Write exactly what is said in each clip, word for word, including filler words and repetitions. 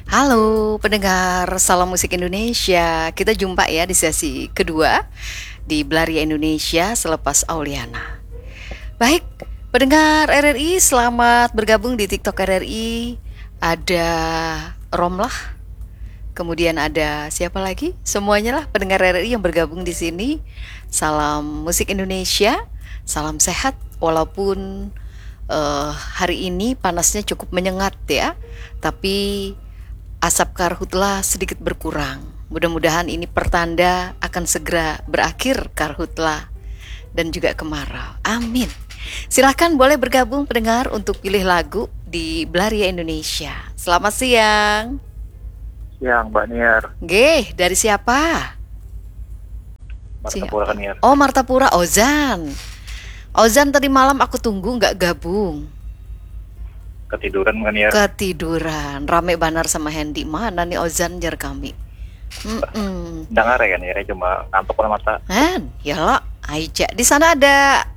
Halo pendengar Salam Musik Indonesia. Kita jumpa ya di sesi kedua di Belaria Indonesia selepas Auliana. Baik, pendengar R R I, selamat bergabung di TikTok R R I. Ada Romlah. Kemudian ada siapa lagi? Semuanya lah pendengar R R I yang bergabung di sini. Salam Musik Indonesia, salam sehat walaupun eh, hari ini panasnya cukup menyengat ya. Tapi asap karhutla sedikit berkurang. Mudah-mudahan ini pertanda akan segera berakhir karhutla dan juga kemarau. Amin. Silahkan boleh bergabung pendengar untuk pilih lagu di Belaria Indonesia. Selamat siang. Siang, Mbak Niar. Nggih, dari siapa? Martapura kan, Niar. Oh, Martapura, Ozan. Ozan, tadi malam aku tunggu nggak gabung. Ketiduran kan, Niar. Ketiduran. Rame banar sama Hendy. Mana nih Ozan, jar kami. Mm-mm. Dengar ya, Niar, cuma ngantuk lah mata. Hen, ya lo, aja. Di sana ada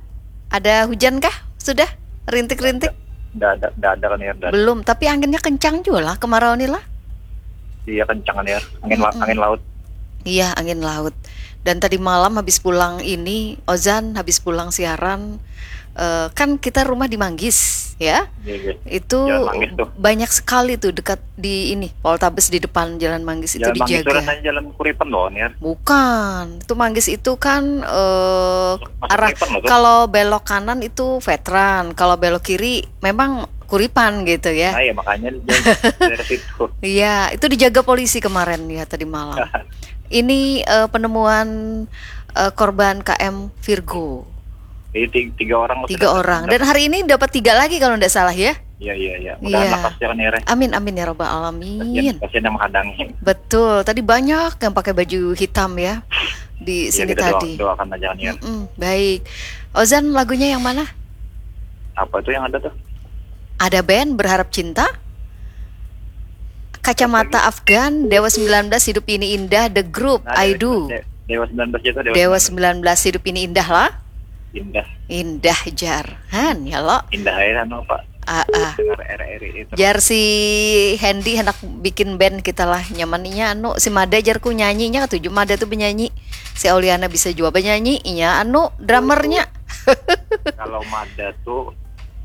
ada hujan kah? Sudah rintik-rintik? Nggak ada, nggak ada kan, Niar. Nggak ada. Belum, tapi anginnya kencang juga lah kemarau nih lah. Iya, kencang kan, Niar. Angin la- Mm-mm. Angin laut. Iya, angin laut. Dan tadi malam habis pulang ini, Ozan habis pulang siaran, eh, kan kita rumah di Manggis, ya. Iya, iya. Itu Jalan Manggis tuh. Banyak sekali tuh dekat di ini, Poltabes di depan Jalan Manggis itu Jalan Manggis itu dijaga. Rasanya jalan Kuripan loh, Niar. Bukan, itu Manggis itu kan eh, Masuk arah Kuripan loh tuh. Kalau belok kanan itu Veteran, kalau belok kiri memang Kuripan gitu ya. Nah, ya makanya dia dari situ. Iya, itu dijaga polisi kemarin ya tadi malam. Ini eh, penemuan eh, korban K M Virgo. Jadi tiga, tiga orang Tiga orang. Dan hari ini dapat tiga lagi kalau tidak salah ya. Iya, iya, iya. Mudahan Iya. Lekas ya kan, Niar. Amin, amin ya robbal Kasihan, alamin. Kasihan yang menghadangi. Betul. Tadi banyak yang pakai baju hitam ya di Ya, sini kita doa- tadi. Doakan aja kan, Niar. Mm-mm, baik. Ozan, lagunya yang mana? Apa itu yang ada tuh? Ada band Berharap Cinta, Kacamata Afgan, Dewa sembilan belas, Hidup Ini Indah, The Group, Nah, I Dewa- Do. De- Dewa sembilan belas itu, Dewa, Dewa sembilan belas, Hidup Ini Indah lah. Indah. Indah jar. Han, ya lo. Indah aja anu, Pak. Ah, ah. Dengar R R I itu. Jar si Hendy hendak bikin band kita lah. Nyamannya anu si Mada, jarku, nyanyinya katuju Mada tuh benyanyi. Si Auliana bisa juga benyanyi, inya anu drummernya. Kalau Mada tuh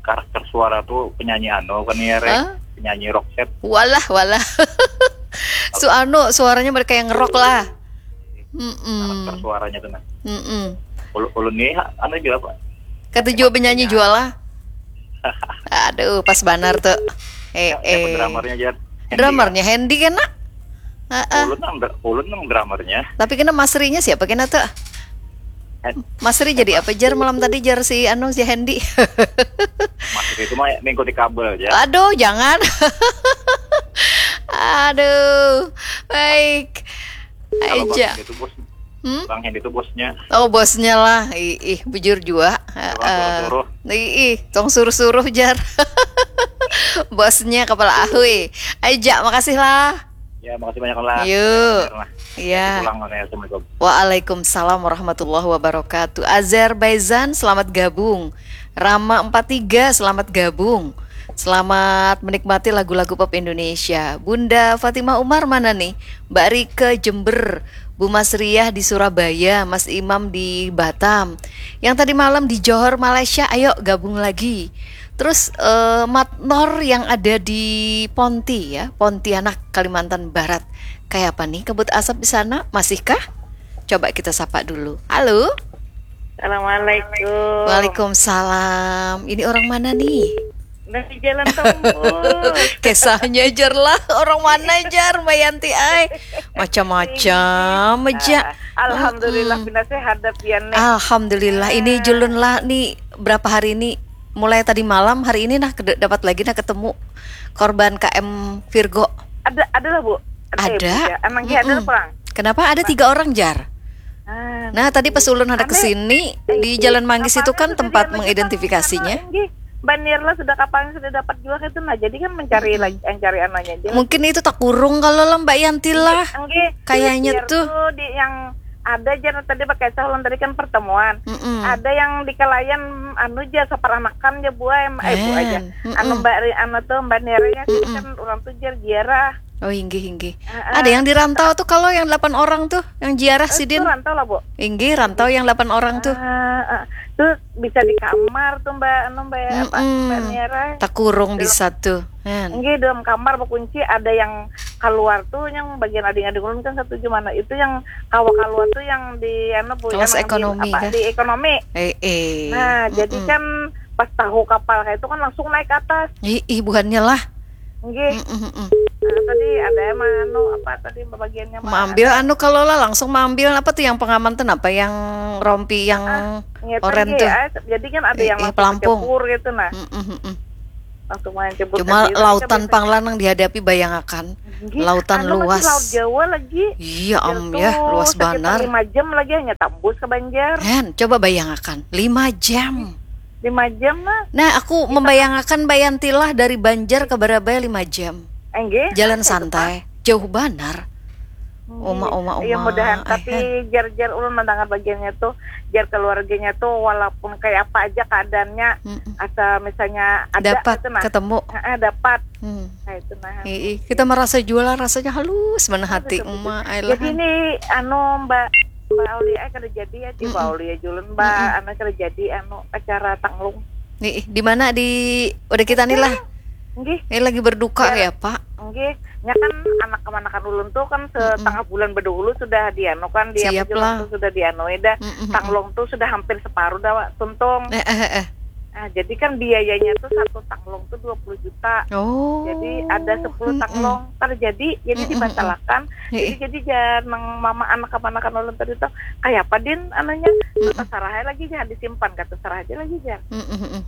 karakter suara tuh penyanyi anu kan, Niar. Hah? Penyanyi rock set. Walah, walah. Su anu suaranya mereka yang ngerok lah. Mm-mm. Karakter suaranya tuh, nah. Mm-mm. Ulun, ulun nih anu juga, Pak. Katuju benyanyi juga lah. Aduh, pas banar tuh. Eh, Siapa, siapa eh. Drummernya, Jar? Hendy, Drummernya Hendy kena. ya? Heeh. Ulun nang dr- ulun nang drummernya. Tapi kena Masrinya siapa kena tuh? Hen- Masri jadi apa jar malam tadi, jar si anu, si Hendy? Masri itu mah mengikuti kabel ya. Aduh, jangan. Aduh, baik. Kalau Bang Aja. Hendy itu bos, Hmm? Bang Hendy itu bosnya. Oh, bosnya lah. Ih, ih, bujur juga. Tukang Heeh. Suruh-suruh. Ih, ih, tong suruh-suruh jar. Bosnya kepala ahui. Aja, makasih lah. Ya, makasih banyak lah. Yuk. Lah. Iya. Pulang, Assalamualaikum. Waalaikumsalam warahmatullahi wabarakatuh. Azerbaijan, selamat gabung. Rama empat tiga, selamat gabung. Selamat menikmati lagu-lagu pop Indonesia. Bunda Fatimah Umar mana nih? Mbak Rike Jember, Bu Mas Riah di Surabaya, Mas Imam di Batam. Yang tadi malam di Johor, Malaysia, ayo gabung lagi. Terus eh, Matnor yang ada di Ponti ya, Pontianak, Kalimantan Barat. Kayak apa nih kabut asap di sana? Masihkah? Coba kita sapa dulu. Halo. Assalamualaikum. Waalaikumsalam. Ini orang mana nih? Dari Jalan Tombol. Kisahnya jar lah. Orang mana jar, Mbak Yanti ai? Macam-macam aja. Ah, Alhamdulillah, Mm-mm. Pina sehat dah pian nih. Alhamdulillah. Ini julun lah nih, berapa hari ini, mulai tadi malam, hari ini nah kede- dapat lagi nah ketemu korban K M Virgo. Ada ada lah, Bu. Ada. Eh, Bu, ya. Emang dia ada Mm-mm. pulang. Kenapa ada tiga orang jar? Ah, Nah, tadi pas ulun hendak Ame, kesini di eh, Jalan Manggis itu apanya kan tuh tempat tadi anu mengidentifikasinya. kita, nggih. Mbak Nirla sudah kapan sudah dapat juga itu, nah, jadi kan mencari Mm-mm. lagi, mencari anunya aja. Mungkin itu tak kurung kalau lah Mbak Yanti lah. Nggih. Kayaknya Biar tuh. Di yang ada aja tadi pakai ulun tadi kan pertemuan. Mm-mm. Ada yang di kalayan anu aja, saparanakan aja, Bu, em, eh, Bu aja. Hen. Mm-mm. Anu Mbak Ri, anu tuh Mbak Nirla sih Mm-mm. kan orang tuh jar ziarah. Oh, inggih, inggih. Ada yang di rantau tuh, kalau yang delapan orang tuh, yang ziarah sidin. Itu rantau lah, Bu. Inggih, rantau yang delapan orang tuh. Uh, uh. Tuh bisa di kamar tuh, Mbak, anu, Mbak, mm -mm. Apa, Mbak Niara. Takurung bisa tuh. Inggih, dalam kamar berkunci, ada yang keluar tuh, yang bagian ading-ading ulun kan satu gimana. Itu yang kawa keluar tuh yang di, anu, Bu, kelas ekonomi, apa, di ekonomi. Eh, eh. Nah, mm -mm. Jadi kan pas tahu kapal kayak itu kan langsung naik ke atas. Ih, ih buhannya lah. Nggih. Mm -mm. Nah, tadi ada emang anu apa tadi bagiannya mengambil anu kalau lah langsung mengambil apa tuh yang pengaman tuh apa yang rompi yang ah, oren tuh. Ah, jadi kan ada eh, yang eh, pelampung gitu nah. Mm -mm. Langsung main cebur. Cuma lautan panglanang dihadapi, bayangakan. Lautan anu luas. Laut Jawa lagi. Iya, am ya, luas banar. Lima jam lagi hanya tembus ke Banjar. Hen, coba bayangakan, lima jam. Lima jam lah. Nah, aku membayangakan Bayantilah dari Banjar ke Barabai lima jam. Enggih. Jalan santai, jauh banar. Oma, oma, oma. Ya mudahan, tapi jar-jar ulun mendengar bagiannya tuh, jar keluarganya tuh walaupun kayak apa aja keadaannya, asal misalnya ada dapat gitu, nah. Ketemu. Heeh, dapat. Hmm. Nah, itu nah. Ii, kita merasa jualan rasanya halus mana hati, uma. Jadi ini anu Mbak Mbak Aulia kada jadi ya, Mbak Aulia julun Mbak anu kada jadi anu acara tanglung. Nih, di mana di udah kita nih lah. Nggih. Ini lagi berduka ya, Pak. Nggih. Nya kan anak kemanakan ulun tuh kan setengah bulan berdahulu sudah dianu kan dia Siap lah. Tuh sudah dianu dah. Tanglung tuh sudah hampir separuh dah tuntung. Eh, eh, eh. Nah, jadi kan biayanya tuh satu tanglung tuh dua puluh juta. Oh. Jadi ada sepuluh tanglung terjadi, jadi dibatalkan. Jadi jadi jar nang mama anak kemanakan ulun tadi tuh kayak apa din anunya, terserah lagi jar disimpan, kata serah aja lagi jar.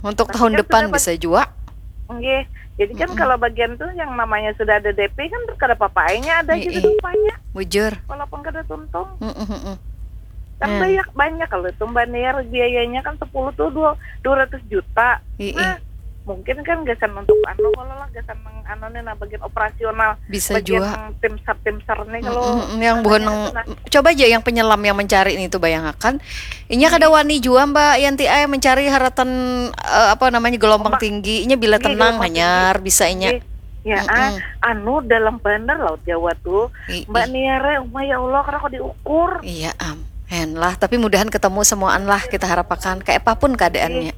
Untuk tahun depan bisa juga. Nggih. Jadi kan kalau bagian tuh yang namanya sudah ada D P kan kada apa-apa, aja ada aja gitu upahnya. Bujur. Walaupun kada tuntung. Mm-mm. Kan banyak banyak kalau itu Mbak Niar biayanya kan sepuluh tuh dua dua ratus juta. Ii. Nah, mungkin kan gasan untuk anu kalau lah gasan nang anu nih nah bagian operasional Bisa bagian jua. Tim sar tim sar nih kalau Mm-mm, yang buhan nang coba aja yang penyelam yang mencari nih tuh bayangakan inya kada wani jua Mbak Yanti ay mencari haratan eh, apa namanya gelombang tinggi inya bila Iya, tenang gelombang hanyar bisa inya Ih, ya ah, anu dalam banar laut Jawa tuh Ih, Mbak ih. Niare umah ya Allah karena kok diukur Iya am, hen lah. Tapi mudahan ketemu semuaan lah kita harapakan. Kayak apapun keadaannya.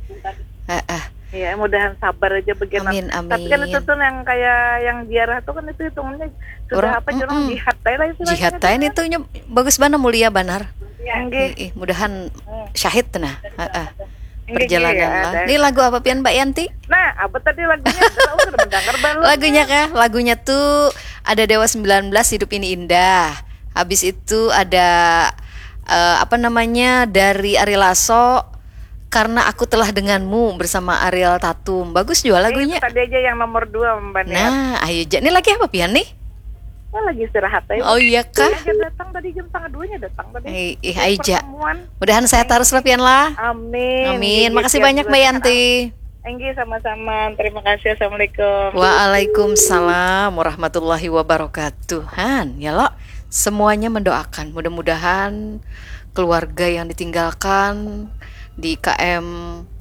Heeh. Ya mudahan sabar aja begini. Amin, Tapi kan amin. Itu tuh yang kayak yang ziarah tuh kan itu hitungannya sudah Orang- apa jorong mm-mm. Jihad tadi lah istilahnya. Jihad tadi itu nya bagus banget mulia banar. Ya, nggih. Ih, mudahan syahid nah. Heeh. Nggih, Perjalanan nggih, lah. ada. Ini lagu apa pian Mbak Yanti? Nah, apa tadi lagunya? Aku udah mendengar belum? Lagunya kah? Lagunya tuh ada Dewa sembilan belas Hidup Ini Indah. Habis itu ada eh, apa namanya dari Ari Lasso Karena Aku Telah Denganmu bersama Ariel Tatum. Bagus juga lagunya. Tadi aja yang nomor dua Mbak Nia. Nah, ayo ja. Ini lagi apa pian nih? Saya lagi istirahat aja. Oh iya kah? Dia datang tadi jam setengah duanya datang tadi. Eh, ih, ayo ja. Pertemuan. Mudahan sehat terus lah pian lah. Amin. Amin. Gigi Makasih siap banyak juga Mbak sehat. Yanti. Enggih sama-sama. Terima kasih. Assalamualaikum. Waalaikumsalam warahmatullahi wabarakatuh. Han, ya lo, semuanya mendoakan. Mudah-mudahan keluarga yang ditinggalkan di K M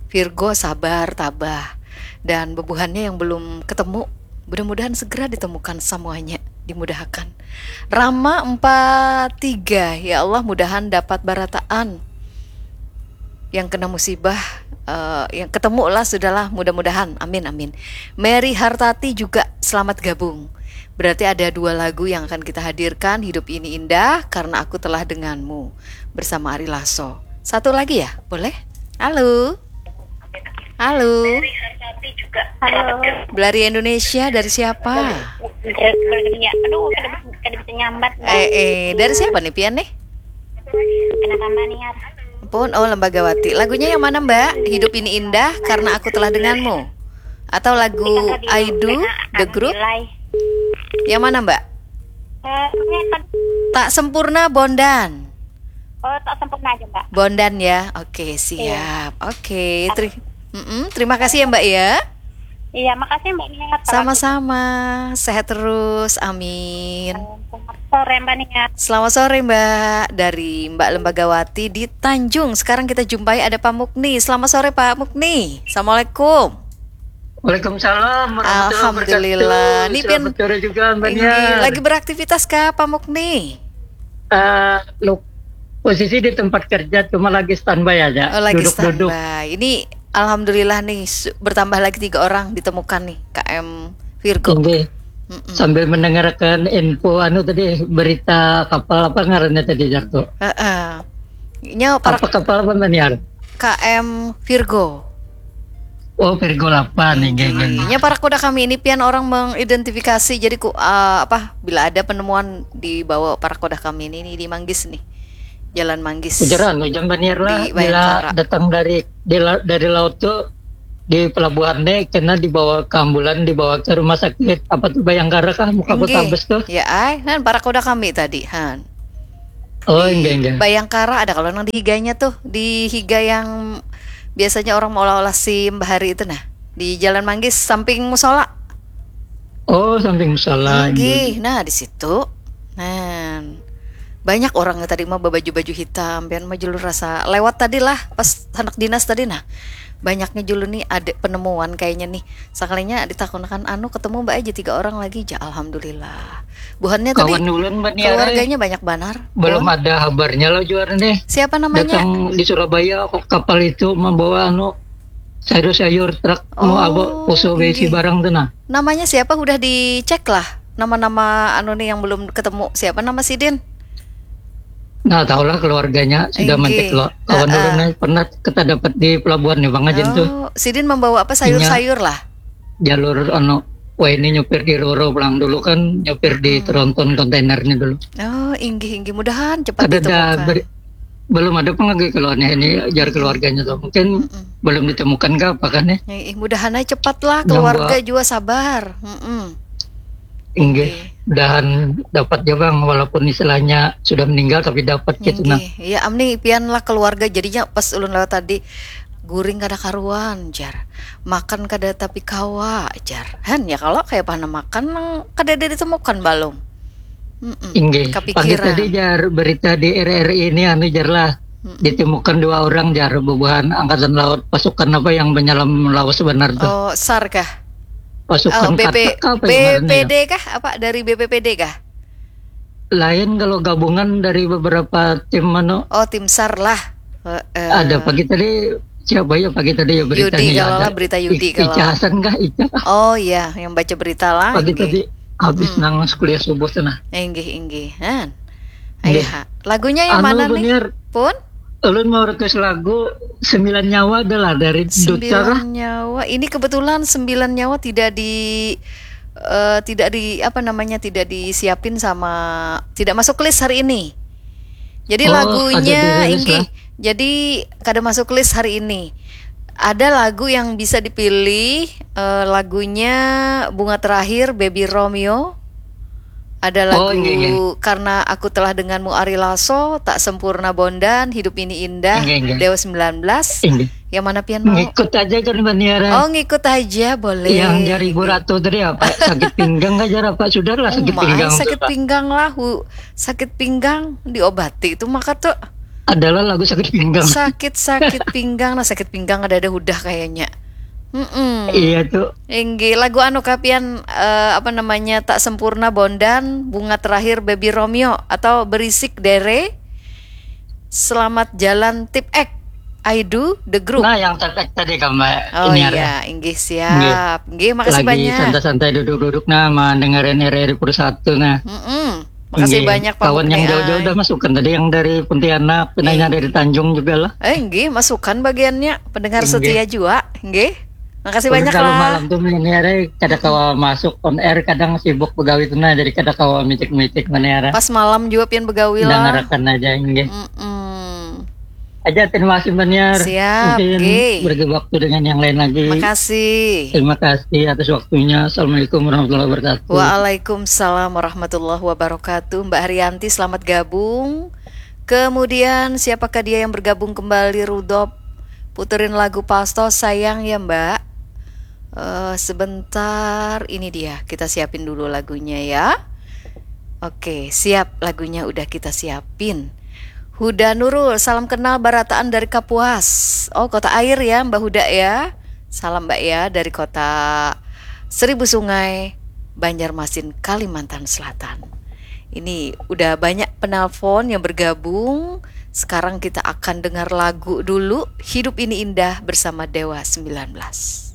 Virgo sabar, tabah. Dan bebuhannya yang belum ketemu, mudah-mudahan segera ditemukan semuanya, dimudahkan. Rama empat tiga, ya Allah mudahan dapat barataan yang kena musibah eh, yang ketemu lah sudahlah mudah-mudahan amin amin. Mary Hartati juga selamat gabung. Berarti ada dua lagu yang akan kita hadirkan, Hidup Ini Indah, Karena Aku Telah Denganmu bersama Ari Lasso. Satu lagi ya, boleh? Halo. Halo. Halo. Belari Indonesia dari siapa? Belari ya. Aduh, kada, kada bisa nyambat. Eh, eh, dari siapa nih pian nih? Kenapa Mbak Niar? Pun, oh Lembagawati. Lagunya yang mana Mbak? Hidup Ini Indah Karena Aku Telah Denganmu. Atau lagu I Do The Group? Yang mana Mbak? Eh, ini kan Tak Sempurna Bondan. Oh, tak sempurna aja, Mbak. Bondan ya. Oke, siap. Oke, teri- Mm-mm, terima kasih ya Mbak ya. Iya, makasih Mbak Niar. Sama-sama. Sehat terus. Amin. Selamat sore Mbak Niar. Selamat sore Mbak. Dari Mbak Lembagawati di Tanjung. Sekarang kita jumpai ada Pak Mukni. Selamat sore Pak Mukni. Assalamualaikum. Waalaikumsalam warahmatullahi wabarakatuh. Alhamdulillah. Ni pian Selamat sore juga Mbak Ini Niar. Lagi beraktivitas kah Pak Mukni? Eh, lo- posisi di tempat kerja cuma lagi standby aja. Oh, lagi Duduk-duduk. Standby. Ini alhamdulillah nih su- bertambah lagi tiga orang ditemukan nih K M Virgo. Ini Mm-mm. sambil mendengarkan info anu tadi, berita kapal apa ngarannya tadi, Jarko? Heeh. Nya para Apa kapal apa, Mbak Niar? K M Virgo. Oh, Virgo delapan, inggih, inggih. Nya para koda kami ini pian orang mengidentifikasi jadi ku ah, apa bila ada penemuan dibawa para koda kami ini, ini di Manggis nih. Jalan Manggis. Ujaran, ujar Mbak Niar lah, Di bila Bayangkara. Datang dari di la- dari laut tuh di pelabuhan deh, kena dibawa ke ambulan, dibawa ke rumah sakit apa tuh, Bayangkara kah, muka Inggih. Kota Bes tuh? Ya ai, nan para koda kami tadi, han. Oh, Di inggih, inggih. Bayangkara ada kalau nang di higanya tuh, di higa yang biasanya orang mau olah-olah SIM bahari itu nah. Di Jalan Manggis samping musola. Oh, samping musola, Inggih. Nah, di situ. Nah, banyak orang tadi mah baju-baju hitam, pian mah julun rasa lewat tadi lah pas anak dinas tadi nah. Banyaknya julun nih ada penemuan kayaknya nih. Sakalinya ditakunakan anu ketemu Mbak aja tiga orang lagi ja alhamdulillah. Buhannya tadi Kawan ulun, Mbak Niar, keluarganya banyak banar. Belum Pun. Ada kabarnya lo, Juara, nih. Siapa namanya? Datang di Surabaya kok kapal itu membawa anu sayur-sayur, truk mau Oh, apa, poso berisi inggih. Barang tuh nah. Namanya siapa udah dicek lah? Nama-nama anu nih yang belum ketemu. Siapa nama sidin? Nah, tahulah keluarganya sudah Inggih. Mantik lo. Kawan Heeh. Ulun nih pernah kita dapat di pelabuhan nih, Bang Ajin tuh. Oh, sidin membawa apa, sayur-sayur lah? Jalur anu, wah, ini nyupir di Roro pulang dulu kan, nyupir di Hmm. tronton kontainernya dulu. Oh, inggih inggih, mudahan cepat Ada dah ditemukan. beri- belum ada pengagai keluarnya ini, jar keluarganya tuh. Mungkin Mm-mm. Belum ditemukan kah apa kan nih? Eh, eh, mudahan aja cepat lah, Yang keluarga buat- juga sabar. Mm-mm. Inggih, Oke. Mudahan dapat ya, Bang, walaupun istilahnya sudah meninggal tapi dapat gitu nah. Inggih. Ya, amni pian lah keluarga, jadinya pas ulun lewat tadi, guring kada karuan, jar. Makan kada tapi kawa, jar. Han, ya kalau kayak mana makan nang kada ada ditemukan balum. Mm-mm. Inggih. Pagi Kapikiran. Tadi, jar, berita di R R I ini anu, jar lah. Mm-mm. Ditemukan dua orang, jar, bubuhan angkatan laut, pasukan apa yang menyelam Laos sebenar tuh. Oh, sar kah? Pasukan Oh, B P, Katak apa yang ngarannya ya? B P D kah? Apa dari B P P D kah? Lain, kalau gabungan dari beberapa tim anu. Oh, tim sar lah. Heeh. Ada pagi tadi, siapa ya pagi tadi ya beritanya Yudi ya kalau ada. Lah, berita Yudi I- kalau Ica lah. Hasan kah, Ica kah? Oh iya, yang baca berita lah. Pagi Inggih. Tadi habis Mm-mm. Nang kuliah subuh tuh nah. Inggih, inggih. Han. Inggih. Ayo, ha. Lagunya yang Anu, mana nih? Buniar, Pun? Ulun mau request lagu Sembilan Nyawa adalah dari Duta kah? Sembilan Nyawa. Ini kebetulan Sembilan Nyawa tidak di eh, tidak di apa namanya, tidak disiapin sama, tidak masuk list hari ini. Jadi Oh, lagunya ada dirilis inggih. Lah. Jadi kada masuk list hari ini. Ada lagu yang bisa dipilih, eh, lagunya Bunga Terakhir Baby Romeo. Ada lagu Oh, inggih, inggih. Karena Aku Telah Denganmu Ari Lasso, Tak Sempurna Bondan, Hidup Ini Indah, Inggih, inggih. Dewa sembilan belas. Inggih. Yang mana pian mau? Ngikut aja kan, Mbak Niara. Oh, ngikut aja boleh. Yang jari Inggih. Ratu tadi apa? Sakit pinggang aja apa? Sudah lah, sakit Umai, pinggang tuh, sakit Pak. Pinggang lah, hu, sakit pinggang diobati itu maka tuh. Adalah lagu sakit pinggang. Sakit-sakit pinggang, nah, sakit pinggang ada-ada hudah kayaknya. Mm-mm. Iya tuh. Inggih, lagu anu kapian, eh, apa namanya, Tak Sempurna Bondan, Bunga Terakhir Baby Romeo, atau Berisik Dere, Selamat Jalan Tip Ek, I Do, The Group. Nah, yang tetek tadi, Kak, Mbak Oh Niara. Iya, inggih, siap. Inggih, makasih Lagi banyak. Santai-santai duduk-duduk nah, mendengarin R R I Pur satu nah. Mm-mm. Makasih Inggih. Banyak, Pak Kawan yang Mukni, jauh-jauh ai. Udah masukkan tadi, yang dari Pontianak, pinanya Inggih. Dari Tanjung juga lah. Eh, inggih, masukkan bagiannya. Pendengar Inggih. Setia juga, inggih. Makasih Ulun banyak kalau lah. Malam tuh Mbak Niara kada kawa masuk on air, kadang sibuk begawi tuh nah, jadi kada kawa micik-micik Mbak Niara. Pas malam juga pian begawi lah. Dengarakan aja, inggih. Mm-mm. Aja, terima kasih Mbak Niara. Siap, Mungkin nggih. Bagi waktu dengan yang lain lagi. Makasih. Terima kasih atas waktunya. Assalamualaikum warahmatullahi wabarakatuh. Waalaikumsalam warahmatullahi wabarakatuh. Mbak Haryanti, selamat gabung. Kemudian siapakah dia yang bergabung kembali, Rudop? Puterin lagu Pastos, sayang ya, Mbak. Eh, sebentar, ini dia. Kita siapin dulu lagunya ya. Oke, siap, lagunya udah kita siapin. Huda Nurul, salam kenal barataan dari Kapuas. Oh, Kota Air ya, Mbak Huda ya. Salam Mbak ya dari kota Seribu Sungai, Banjarmasin, Kalimantan Selatan. Ini udah banyak penelpon yang bergabung. Sekarang kita akan dengar lagu dulu, Hidup Ini Indah bersama Dewa sembilan belas.